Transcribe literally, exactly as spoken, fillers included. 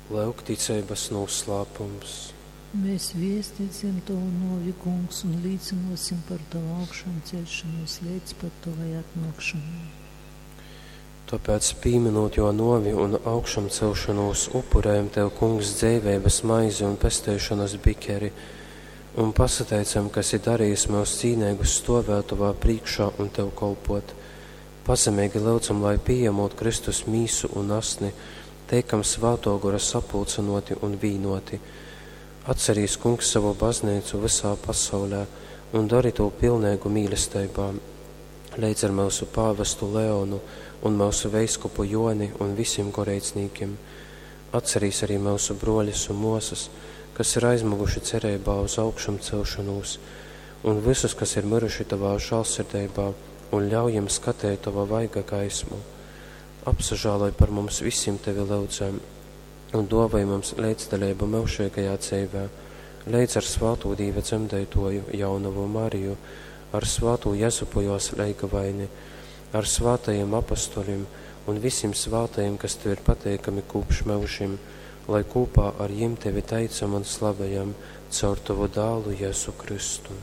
Lyuk ticeibas nūslāpums. Mēs viestīsim Tavu novi, Kungs, un līcinosim par Tavu augšām celšanos līdz pat Tavai atnākšanai. Tāpēc, pīminot jo novi un augšām celšanos, upurējam Tev, Kungs, dzeiveibas maizi un pesteišanas bikeri, un pasateicam, ka esi darījis mūs cīnīgus stovēt Tavā priekšā un Tev kolpot. Pazemīgi lūdzam, lai pieņemot Kristus mīsu un asni, teikam Svētō Gora sapulcinoti un vīnoti. Atcerīs, Kungs, savu baznīcu visā pasaulē un dari to pilnīgu mīlestībā, leidz ar mūsu pāvestu Leonu un mūsu veiskupu Joni un visiem goreicnīkiem. Atcerīs arī mūsu broļus un mosas, kas ir aizmuguši cerībā uz augšām celšanos, un visus, kas ir miruši tavā žālsirdībā, un ļauj jiem skatēt tava vaiga gaismu. Apsažāloj par mums visiem tevi lūdzam, un dāvāj mums līdzdalību mūžīgajā dzīvē, līdz ar svāto Dīva dzemdētoju jaunavu Mariju, ar svāto Jezupu jos leigavaini, ar svātajiem apostoļiem un visiem svātajiem, kas tev ir pateikami kopš mūžim, lai kopā ar jiem tevi teicam un slavējam caur tavu dālu Jēzu Kristu.